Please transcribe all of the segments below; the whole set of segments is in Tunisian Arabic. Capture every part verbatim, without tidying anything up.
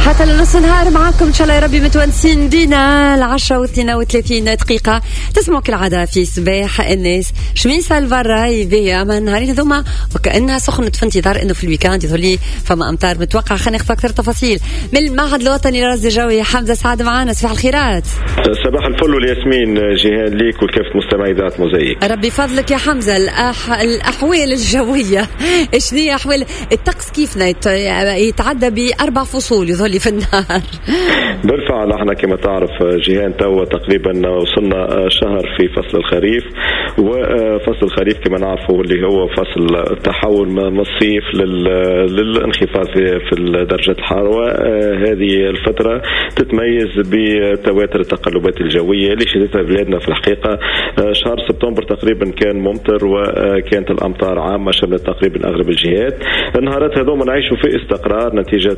حتى لنص نهار معاكم ان شاء الله يا ربي متونسين بينا. العشرة واثنين وثلاثين دقيقة تسمعوا كالعادة في صباح الناس. شميسة البرا باهية، اما النهارين هذوما وكأنها سخنت، في انتظار انه في ال week-end يظهر لي فما امطار متوقع. خلينا ناخذ اكثر تفاصيل من المعهد الوطني للرصد الجوي. حمزة سعد معنا، صباح الخيرات. صباح الفل والياسمين جيهان، ليك ولكافة مستمعي اذاعة موزايك. ربي فضلك يا حمزة. الأح... الأحوال الجوية، شنو هي أحوال الطقس؟ كيفنا يتعدى بأربع فصول يظهر لي في النهار. بالفعل، احنا كما تعرف جيهان توا تقريبا وصلنا شهر في فصل الخريف، وفصل الخريف كما نعرفوا اللي هو فصل التحول من الصيف للانخفاض في في درجة الحرارة. هذه الفترة تتميز بتواتر التقلبات الجوية اللي شهدتها بلادنا. في الحقيقة شهر سبتمبر تقريبا كان ممطر وكانت الأمطار عامة شملت تقريبا أغلب الجهات. النهارات هذوما نعيشوا في استقرار نتيجة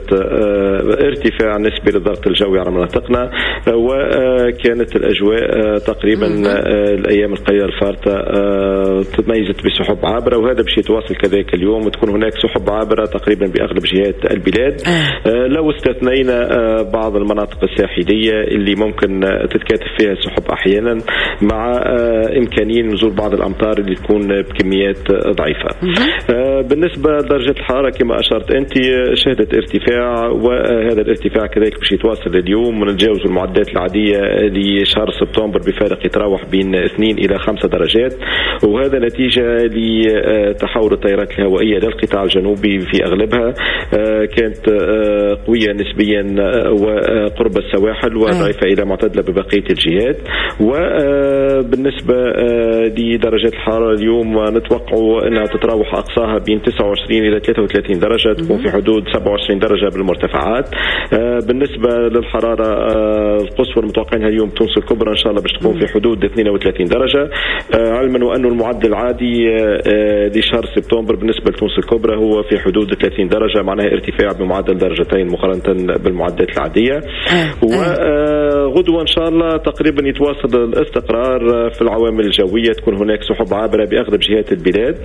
ارتفاع نسبي للضغط الجوي على مناطقنا، وكانت الأجواء تقريبا الأيام القليلة الفارطة تميزت بسحب عابرة، وهذا باش يتواصل كذلك اليوم وتكون هناك سحب عابرة تقريبا بأغلب جهات البلاد، لو استثنينا بعض المناطق الساحلية اللي ممكن تتكاثف فيها السحب أحيانا، مع إمكانية نزول بعض الأمطار اللي تكون بكميات ضعيفة. بالنسبة لدرجة الحرارة كما أشرت أنت شهدت ارتفاع، وهذا الارتفاع كذلك باش يتواصل اليوم ونتجاوز المعدلات العادية لشهر سبتمبر بفارق يتراوح بين اثنين إلى خمسة درجات، وهذا نتيجة لتحول التيارات الهوائية للقطاع الجنوبي في أغلبها كانت قوية نسبيا وقرب السواحل وضعيفة إلى معتدلة ببقية الجهات. وبالنسبة لدرجات الحرارة اليوم نتوقع أنها تتراوح أقصاها بين تسعة وعشرين إلى ثلاثة وثلاثين درجة، تكون في حدود سبعة وعشرين درجة بالمرتفعات. بالنسبة للحرارة القصوى المتوقعينها اليوم تونس الكبرى إن شاء الله باش تكون في حدود اثنين وثلاثين درجة، علما وأن المعدل العادي لشهر سبتمبر بالنسبة لتونس الكبرى هو في حدود ثلاثين درجة، معناها ارتفاع بمعدل درجتين مقارنة بالمعدلات العادية. وغدوة إن شاء الله تقريبا يتواصل الاستقرار في العوامل الجوية، تكون هناك سحب عابرة بأغلب جهات البلاد.